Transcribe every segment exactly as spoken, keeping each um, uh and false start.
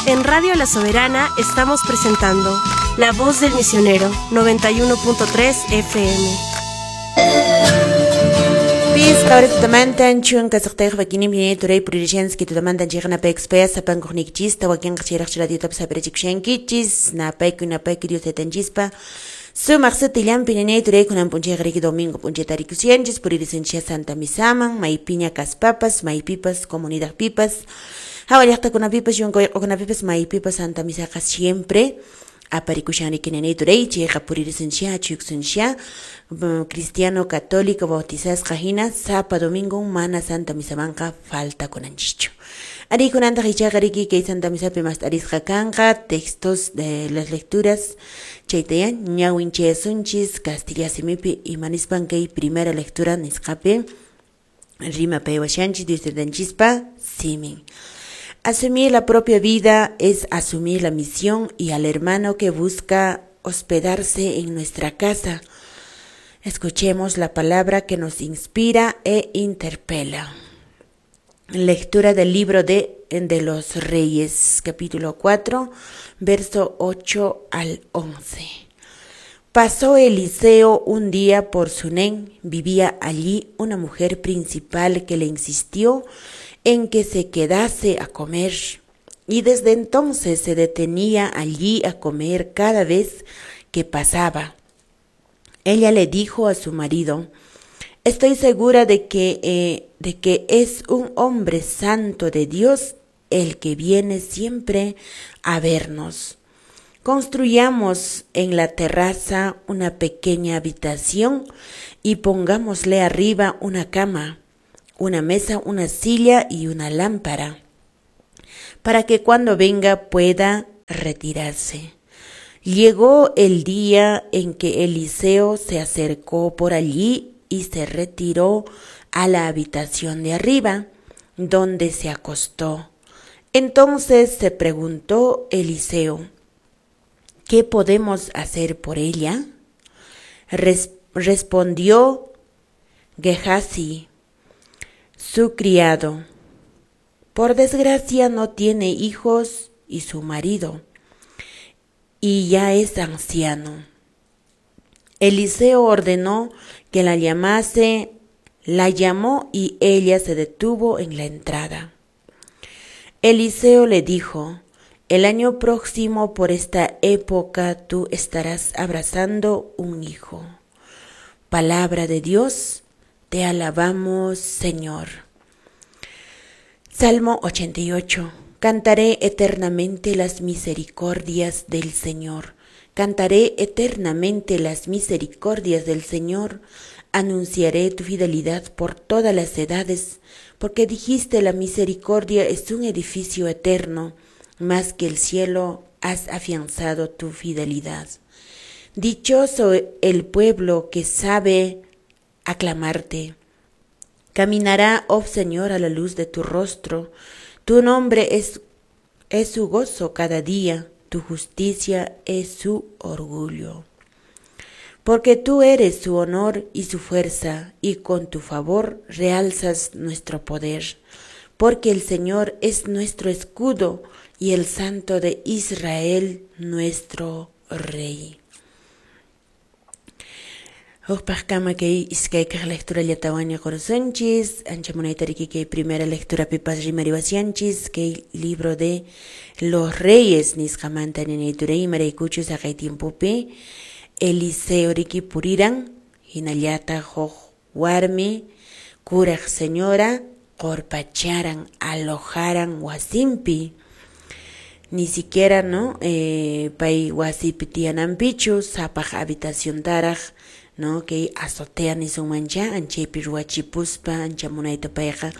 En Radio La Soberana estamos presentando La Voz del Misionero, noventa y uno punto tres F M. Pis qawritamantan chunka suqtayuq wakinim turay puririshanski tutamantan chayqa napaykuspaya sapankuqniykichista wakinqa chayraqchu radiotapas hap'irachikushankichis napayku napayku Dios taytanchispa sumaq sutillanpi ñañay turay kunan p'unchayqa riki domingo p'unchayta rikushanchis puririsunchis Santa Misaman maypiña kaspapas maypipas comunidadpipas hawa llaqtakunapipas yunka wayq'ukunapipas maypipas Santa Misaqa siempre aparikushan riki ñañay turay chayqa puririsunchis achuykusunchis cristiano católico bautizasqa hina sapa domingo mana Santa Misamanqa faltakunanchischu. Ari kunantaq ichaqa riki kay Santa Misapi mast'arisqa kanqa textos de las lecturas chaytaya ñawinchayasunchis kastilla simipi imanispan kay primera lectura nisqapi rimapaywashanchis Dios taytanchispa simin. Asumir la propia vida es asumir la misión y al hermano que busca hospedarse en nuestra casa. Escuchemos la palabra que nos inspira e interpela. Lectura del libro de, de los Reyes, capítulo cuatro, verso ocho al once. Pasó Eliseo un día por Sunén. Vivía allí una mujer principal que le insistió en que se quedase a comer, y desde entonces se detenía allí a comer cada vez que pasaba. Ella le dijo a su marido: Estoy segura de que, eh, de que es un hombre santo de Dios el que viene siempre a vernos. Construyamos en la terraza una pequeña habitación y pongámosle arriba una cama, una mesa, una silla y una lámpara, para que cuando venga pueda retirarse. Llegó el día en que Eliseo se acercó por allí y se retiró a la habitación de arriba, donde se acostó. Entonces se preguntó Eliseo: ¿qué podemos hacer por ella? Res- respondió Gehazi, su criado: por desgracia no tiene hijos y su marido, y ya es anciano. Eliseo ordenó que la llamase, la llamó y ella se detuvo en la entrada. Eliseo le dijo: el año próximo por esta época tú estarás abrazando un hijo. Palabra de Dios, te alabamos, Señor. Salmo ochenta y ocho. Cantaré eternamente las misericordias del Señor. Cantaré eternamente las misericordias del Señor. Anunciaré tu fidelidad por todas las edades, porque dijiste: la misericordia es un edificio eterno, más que el cielo has afianzado tu fidelidad. Dichoso el pueblo que sabe aclamarte. Caminará, oh Señor, a la luz de tu rostro. Tu nombre es, es su gozo cada día, tu justicia es su orgullo. Porque tú eres su honor y su fuerza, y con tu favor realzas nuestro poder. Porque el Señor es nuestro escudo y el Santo de Israel nuestro Rey. Hukpaqkama kay iskay kaq lectura llatawaña qurasunchis, ancha munayta riki kay primera lectura pipas rimariwasyanchis, kay libro de los Reyes nisqamanta ñañay turay imaraykuchus haqay tiempopi Eliseo riki puriran, hinallata huk warmi kuraq señora qorpacharan, alojaran wasinpi. Ni siquiera, ¿no? Eh, pay wasipi tiyananpichu, sapaq habitaciontaraq, ¿no? Kay azotea nisunmancha, anchaypi ruwachipuspa, ancha munayta payqa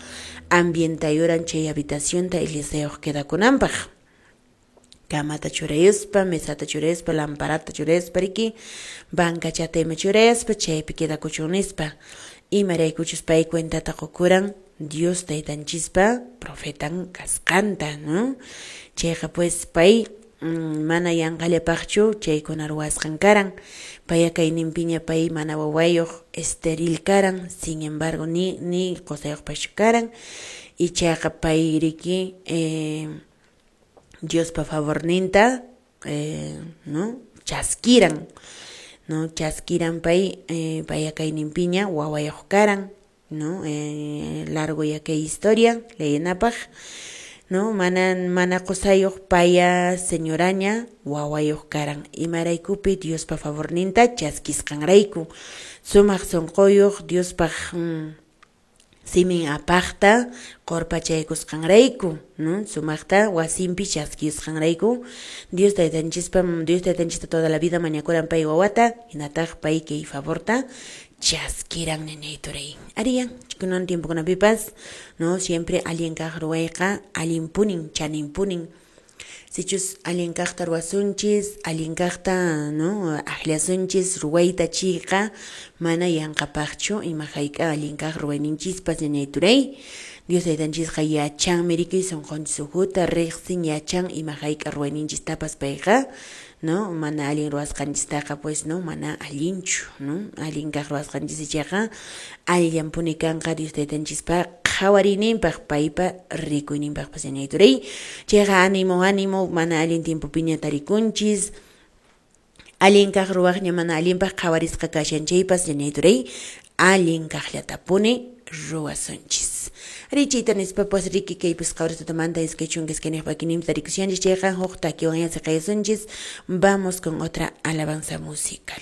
ambientayuran chay habitacionta Eliseoq quedakunanpaq. Kamata churayuspa, mesata churayuspa, lamparata churayuspa riki, bancachata ima churayuspa, chaypi quedakuchun nispa. Imaraykuchus pay cuentata qukuran Dios taytanchispa profetan kasqanta, ¿no? Chayqa pues pay mm, mana yanqallapaqchu chaykuna ruwasqan karan. Paya kayninpiña pay mana wawayuq esteril karan, sin embargo ni, ni qusayuqpaschu karan. Ichaqa pay riki eh, Diospa favorninta eh, no chaskiran, no chaskiran pay eh, paya kayninpiña wawayuq karan, no eh, largo ya kay historia leyenapaq, no mana mana qusayuq paya señoraña wawayuq karan imaraykupi Diospa favorninta chaskisqanrayku sumaq sunquyuq Diospaq mm, simin apaqta qurpachaykusqanrayku, no sumaqta wasinpi chaskisqanrayku Dios taytanchispa Dios taytanchista toda la vida mañakuran pay wawata hinataq pay kay favorta chaskiran ñañay turay. Ariya, kunan tiempokunapipas, no siempre allin kaq ruwayqa allinpunin chaninpunin. Sichus allin kaqta ruwasunchis, allin kaqta no akllasunchis ruwayta chiyqa mana yanqapaqchu ima hayk'a allin kaq ruwayninchispas ñañay turay. Dios taytanchisqa yachanmi riki sunqunchis ukhuta riqsin yachan ima hayk'a ruwayninchistapas payqa, no mana allin ruwasqanchistaqa pues no mana allinchu, no allin kaq ruwasqanchis ichaqa allinpuni kanqa Dios taytanchispa qhawariyninpaq paypa rikuyninpaqpas ñañay turay. Chayqa ánimo ánimo mana allin tiempopiña tarikunchis allin kaq ruwaqña mana allinpaq qhawarisqa kashan chaypas ñañay turay allin kaqllatapuni ruwasunchis. Richita nispapas riki kaypis qawritutamanta iskay chunka iskayniyuq pakininpi tarikushanchis chayqa huk takiwan siqayasunchis. Vamos con otra alabanza musical.